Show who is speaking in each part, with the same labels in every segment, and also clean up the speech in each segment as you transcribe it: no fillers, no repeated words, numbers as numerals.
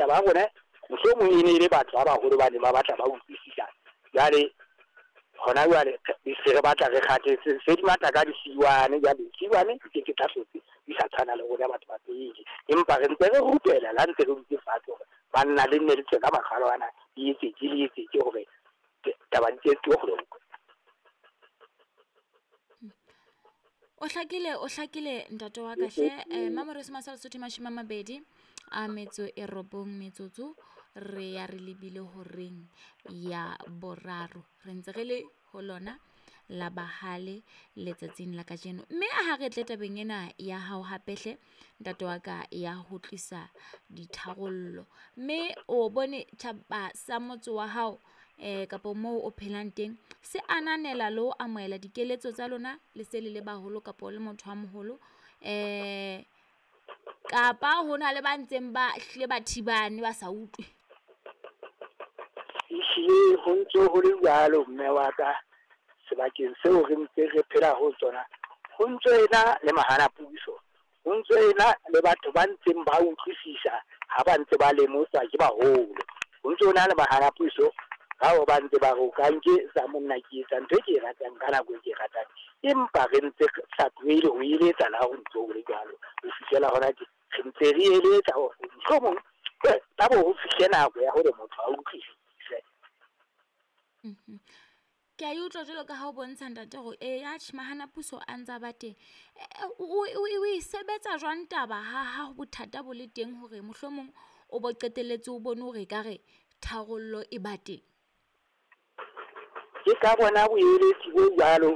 Speaker 1: Ba rona mohlomong e ne e le batho ba baholo ba neng ba batla ba utlwisisa. Jwale hona jwale se re batla re kgathetse, se di matla ka disiwane. Jwale disiwane di ke ke tsa hlotse di sa tshwana le rona batho ba pele, empa re ntse re rupela le ha ntse re dutse fatshe hore banna le nne le tswe ka makgalo ana, le etsetse le etsetse hore taba di tse kgolokwe.
Speaker 2: O hlakile, o hlakile ntate wa ka hle. Mamoreso Masala Sotho 29 metsotso re ya re lebile horeng ya boraro. Re ntse re le ho lona la bahale letsatsing la kajeno. Mme ha re tle tabeng ena ya hao hape hle ntate wa ka ya ho tlisa ditharollo. Mme o bone tjhaba sa motse wa hao kapo moo o phelang teng se ananela le ho amohela dikeletso tsa lona le se le le baholo kapo le motho a moholo, kapa ho na le ba ntseng ba hlile ba thibane ba sa utlwe?
Speaker 1: Ehlile ho ntse ho le jwalo mme wa ka, sebakeng seo re ntse re phela ho tsona, ho ntso ena le mahana puso, ho ntso ena le batho ba ntseng ba utlwisisa ha ba ntse ba lemoswa ke baholo. Ho ntso na le mahana puso bao ba ntse ba re o ka nke sa monna ke etsa ntho e ke e ratang ka nako e ke e ratang, empa re ntse re sa tlohele ho eletsa le ha ho ntso ho le jwalo. Ho fihlela hona tje re ntse re eletsa hore mohlomong tla bo ho fihle nako ya hore motho a utlwisise.
Speaker 2: Ke a e utlwa jwalo ka ha o bontsha ntate hore e atjhe mahana puso a ntsa ba teng. O e sebetsa jwang taba ha bothata bo le teng hore mohlomong o bo qetelletse o bone hore ekare tharollo e ba teng?
Speaker 1: Ke ka bona boeletsi bo jwalo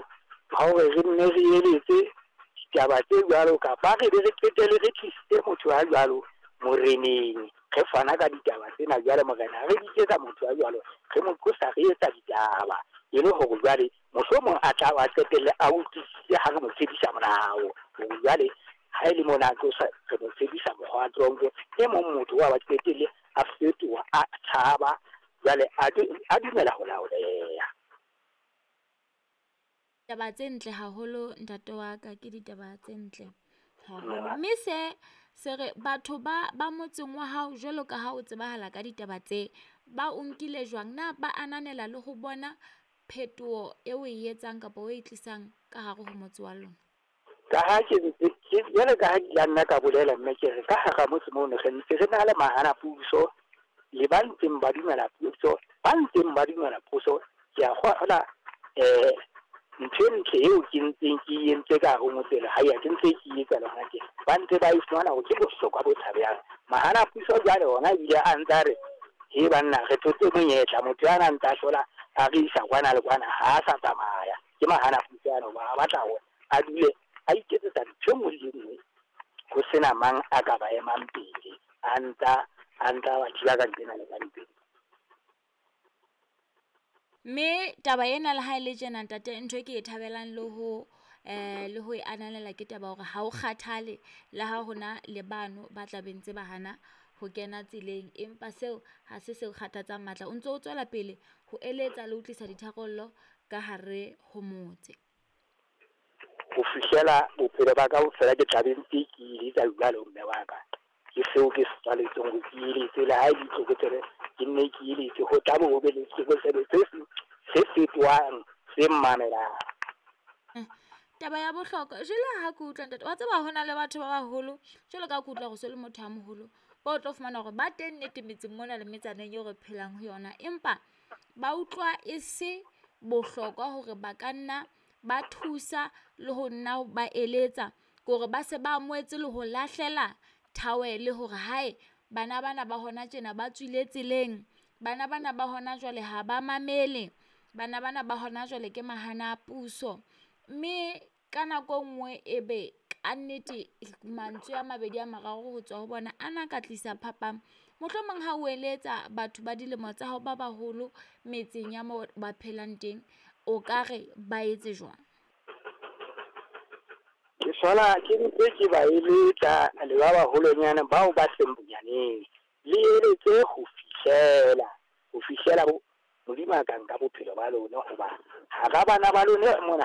Speaker 1: ba hore re nne re eletse ditaba tse jwalo, kapa re be re qetelle re tlisitse motho a jwalo moreneng, re fana ka ditaba tsena. Jwale morena re bitsetsa motho a jwalo, re mo qosa, re etsa ditaba e le hore jwale mohlomong a tla a qetelle a utlwisitse ha re mo tsebisa molao hore jwale ha e le mona a tlosa, re mo tsebisa mokgwa wa tronko. E mong motho wa ba qetelle a fetoha, a tshaba jwale a dumela ho laoleha.
Speaker 2: Taba tse ntle haholo ntate wa ka, ke ditaba tse ntle haholo. Mme se re batho ba motseng wa hao jwalo ka ha o tsebahala ka ditaba tse, ba o nkile jwang? Na ba ananela le ho bona phetoho e o e etsang kapa o e tlisang ka hare ho motse wa lona?
Speaker 1: Ka ha ke ntse ke jwale ka ha ke la nna ka bolela mme ke re ka hara motse mono re ntse re na le mahana puso le ba ntseng ba dumela puso, ba ntseng ba dumela puso. Ke a kgola ntho e ntle eo ke ntseng ke entse ka hare ho motse le hae, ke ntse ke etsa le hona tje, ba ntse ba e fumana hore ke bohlokwa bo tshabehang. Mahana puso jwale ona ebile a ntsa re he banna re thotse monyetla, motho yana ntsa hlola a re isa kwana le kwana, ha a sa tsamaya. Ke mahana puso ana hoba a batla hore a dule a iketsetsa ntho e nngwe le e nngwe, ho sena mang a ka ba emang pele, a ntsa ba thiba ka nqena le ka nqena.
Speaker 2: Mme taba ena le ha e le tjena ntate, ntho e ke e thabelang le ho le ho e ananela ke taba hore ha o kgathale le ha hona le bano ba tla be ntse ba hana ho kena tseleng, empa seo ha se seo kgathatsang matla. O ntso o tswela pele ho eletsa le ho tlisa ditharollo ka hare ho motse.
Speaker 1: Ho fihlela bophelo ba ka kaofela ke tla be ntse ke eletsa jwalo mme wa ka. Ke seo ke se tswaletsweng hore ke eletse, le ha e le ditlokotsebe ke nne ke eletse, ho tla bo ho be le setlokotsebe se seng se fetohang se mmamelang.
Speaker 2: Taba ya bohlokwa jwale ha ke utlwa ntate, wa tseba hona le batho ba baholo jwalo ka ha ke utlwa hore so le motho a moholo, ba o tlo fumana hore ba teng nnete metseng mona le metsaneng eo re phelang ho yona, empa ba utlwa e se bohlokwa hore ba ka nna ba thusa le ho nna ba eletsa, ke hore ba se ba amohetse le ho lahlela thawele hore hae bana bana ba hona tjena ba tswile tseleng, bana bana ba hona jwale ha ba mamele, bana bana ba hona jwale ke mahana a puso. Mme ka nako e nngwe e be ka nnete mantswe a mabedi a mararo ho tswa ho bona ana ka tlisa phapang. Mohlomong ha o eletsa batho ba dilemo tsa hao ba baholo metseng ya moo ba phelang teng, o ka re ba etse jwang?
Speaker 1: Ke sola ke ntse ke ba eletsa le ba baholonyana bao ba seng bonyaneng, le eletse ho fihlela Modimo a ka nka bophelo ba lona, hoba hara bana ba lona mona